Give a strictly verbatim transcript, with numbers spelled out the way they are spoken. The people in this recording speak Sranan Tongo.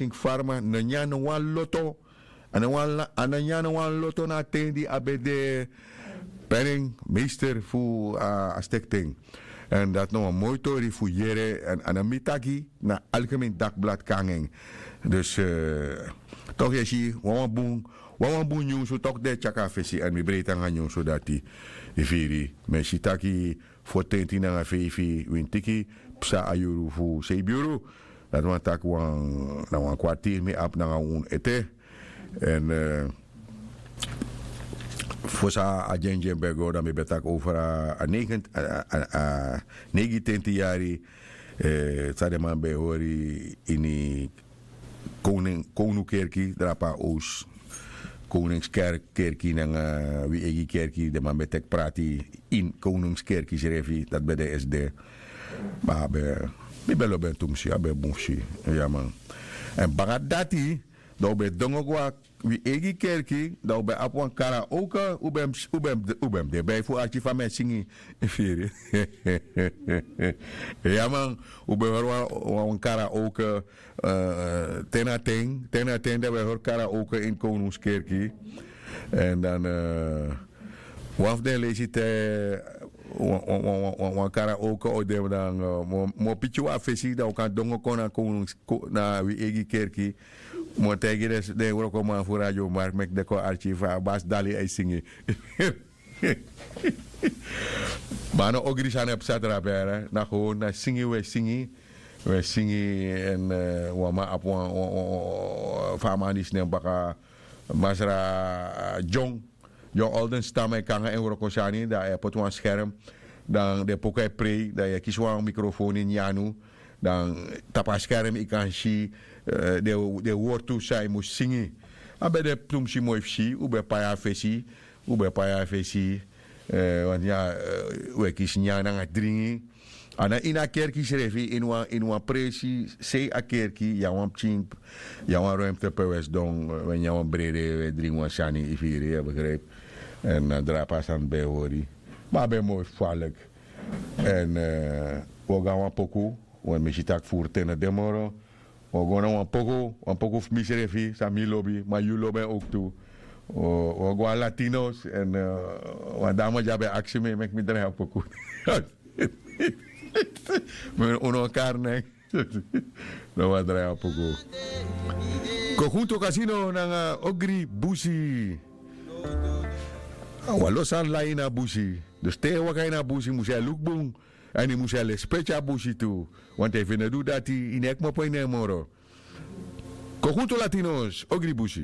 King Farma no nyan no wan loto. A no wan la- a no nyan no wan loto na a ten di a ben de penningmeester fu a stekten. Èn dati na wan moi tori fu yere èn a no mi taki na algemeen dakblad kon nanga en. Dus tok' yu e si wawan bun wawan bun nyunsu tok' den e tyari a fesi èn mi breiti nanga nyunsu dati. Yu firi? Mi e si taki fotenti nanga feifi wintiki psa a yuru fu seibi yuru. Dati wani taki wan na wan kwartiri mi abi nanga unu ete. Èn fosi a dyendyen ben go dan mi ben taki over a neigintenti yari san den man ben e hori ini kownu kerki drape na owsu. Kowningskerki nanga wi eigi kerki den man ben teki prati ini kowningskerki srefi dati ben de esde. Ma a ben mi ben lobi en tu mus si a ben bun fu si. Ya man. Èn baka dati dan un ben dongo go na wi eigi kerki dan un ben abi wan karaoke un ben mus de bai fu arki fa mi e singi. Firi? Ya man. Un ben hori wan karaoke. Ten na ten ten na ten dan un e hori karaoke ini kownungskerki. Èn dan wan fu den leisi te wan karaoke o de dan mi o piki wan fesi dan un kan dongo kon na kownungs na wi eigi kerki. Mi o taigi den wrokoman fu radio mark meki den kon arki fa a basi dali a e singi. Ma a no ogri sani e psa drape na hon na singi un e singi. Un e singi èn wan man abi wan fa a man disi nen baka masra john. John olden stam e kon nanga en wrokosani dan a e poti wan skerm. Dan den poku e prei dan yu e kisi wan mikrofon ini yu anu. Dan tapu a skerm yu kan si den wortu san yu mus singi. A ben de tumsi moi fu si un ben pai a fesi. Un ben pai a fesi. Wanti un e kisi nyan nanga dringi. A na ini a kerki srefi ini wan presi sei a kerki yu na wan pikin yu na wan ruimte pe un e sidon un e nyan wan brede un e dringi wan sani yu firi yu e begripi. Èn a drape a sani ben e hori. Ma a ben moi falik. Èn un o go na wan poku. Wan mi si tak' furu ten no de moro. Un o go na wan poku wan poku fu misrefi san mi lobi ma yu lobi en owktu. Un o go na latinos èn wan dama di a ben aksi mi meki mi drai a poku. Mi no un no kari nen. No wan drai a poku. Kokuntu kasino nanga ogri busi. Wan lo sani lai ini a busi. Dus te yu e waka ini a busi mus yu e luku bun. Èn yu mus e lespeki a busi tu. Wantu efu yu no du dati yu no e kmopo ini en moro. Kokuntu latinos ogri busi.